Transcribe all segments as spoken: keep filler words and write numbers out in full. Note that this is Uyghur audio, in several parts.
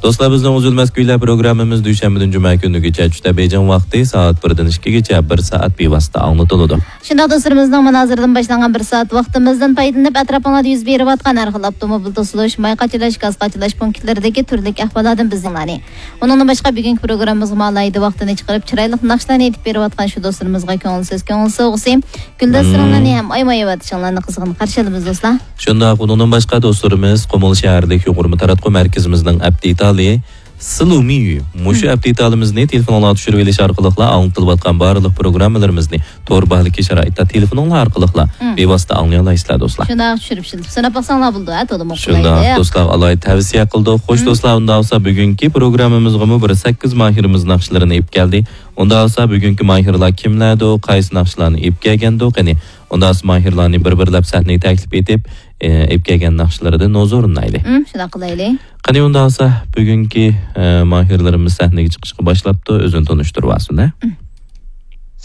دوستلار، بىزنىڭ ئۈزۈلمەس كۈيلەر پروگراممىمىز دۈشەنبىدىن جۈمە كۈنىگىچە چۈشتە بېيجىڭ ۋاقتى سائەت بىردىن ئىككىگىچە بىر سائەت بىۋاسىتە ئاڭلىتىلىدۇ. شۇنداق دوستلىرىمىزنىڭ مانا ھازىردىن باشلانغان بىر سائەت ۋاقتىمىزدىن پايدىلىنىپ، ئەتراپىڭلاردا يۈز بېرىۋاتقان ھەر خىل ئاپتوموبىل توسۇلۇش، ماي قاچىلاش، گاز قاچىلاش پونكىتلىرىدىكى تۈرلۈك ئەھۋاللاردىن بىزنى ئاڭلىغىلى. ئۇنىڭدىن باشقا، بۈگۈنكى پروگراممىمىزغا ئالاھىدە ۋاقتىنى چىقىرىپ، چىرايلىق ناخشىلارنى ئېيتىپ بېرىۋاتقان شۇ دوستلىرىمىزغا كۆڭۈل سۆز، كۆڭۈل سوۋغىسى، گۈلدەستىرىڭلارنى ھەم ئايىماي ئېۋاتىشىڭلارنى قىزغىن قارشى ئالىمىز، دوستلار. شۇنداق، ئۇنىڭدىن باشقا دوستلىرىمىز قۇمۇل شەھەرلىك يۇقىرى تاراتقۇ مەركىزىمىزنىڭ ئەپ دېتالى سىلۇمىيۈ. مۇشۇ ئەپ دېتالىمىزنى تېلېفونۇڭلارغا چۈشۈرۈۋېلىش ئارقىلىقلا ئاڭلىتىلىۋاتقان بارلىق پروگراممىلىرىمىزنى تور باھالىكى شارائىتتا تېلېفونۇڭلار ئارقىلىقلا بىۋاسىتە ئاڭلىيالايسىلەر، دوستلار. شۇنداق، چۈشۈرۈپ سىناپ باقساڭلار بولىدۇ، ھە، تولىمۇ شۇنداق، قولايلىق. دوستلارغا ئالاھىدە تەۋسىيە قىلدۇق. خوش، دوستلار، ئۇنداق بولسا بۈگۈنكى پروگراممىمىزغىمۇ بىر سەككىز ماھىرىمىز ناخشىلىرىنى ئېلىپ كەلدى. ئۇنداق بولسا بۈگۈنكى ماھىرلار كىملەردۇ، قايسى ناخشىلارنى ئېلىپ كەلگەندۇ؟ قېنى، ئۇنداق بولسا ماھىرلارنى بىر-بىرلەپ سەھنىگە تەكلىپ ئېتىپ، ئېلىپ كەلگەن ناخشىلىرىدىن ھۇزۇرلىنايلى. ھىم، شۇنداق قىلايلى. قېنى، ئۇنداق بولسا بۈگۈنكى، ئە، ماھىرلىرىمىز سەھنىگە چىقىشقا باشلاپتۇ. ئۆزۈنى تونۇشتۇرۇۋالسۇن، ھە؟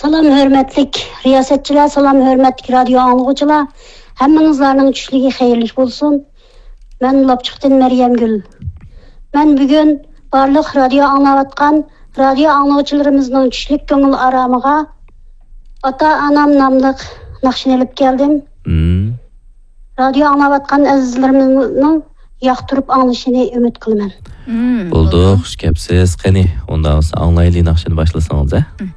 سالام، ھۆرمەتلىك رىياسەتچىلەر، سالام، ھۆرمەتلىك رادىيو ئاڭلىغۇچىلار. ھەممىڭلارنىڭ چۈشلۈكى خەيرلىك بولسۇن. مەن لاپچۇقتىن مەريەمگۈل. مەن بۈگۈن بارلىق رادىيو ئاڭلاۋاتقان رادىيو ئاڭلىغۇچىلىرىمىزنىڭ چۈشلۈك كۆڭۈل ئارامىغا ئاتا-ئانام ناملىق ناخشىنى ئېلىپ كەلدىم. مم. رادىيو ئاڭلاۋاتقان ئەزىزلىرىمىزنىڭ ياقتۇرۇپ ئاڭلىشىنى ئۈمىد قىلىمەن. مم، بولدى، بولدى. خۇش كەپسىز. قېنى، ئۇنداق بولسا ئاڭلايلى ناخشىنى باشلىسىڭىز، ھە؟ مم.